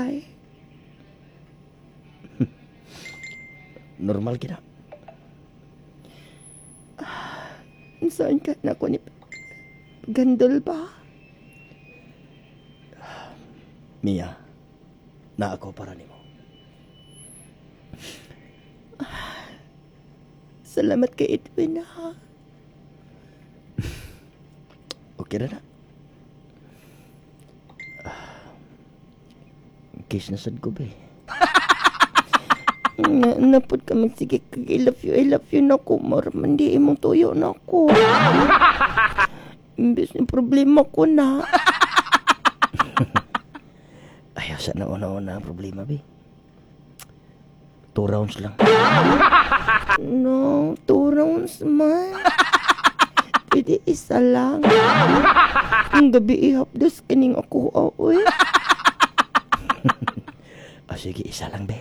ay. Normal kina. Saan ka na ko ni Gandol ba? Mia, na ako para nimo. Salamat kay Edwin ha. Okay na na. Kiss na sad ko be. Na, napod kami sige kag I love you na ko. Mara man di imong tuyo na ko. Imbes ni problema ko na. Ayaw sa nauna-una ang problema be. Two rounds lang. No, two rounds man. Pwede isa lang. Ang gabi ihapdos kining ako, oy. Ah, sige, isa lang be.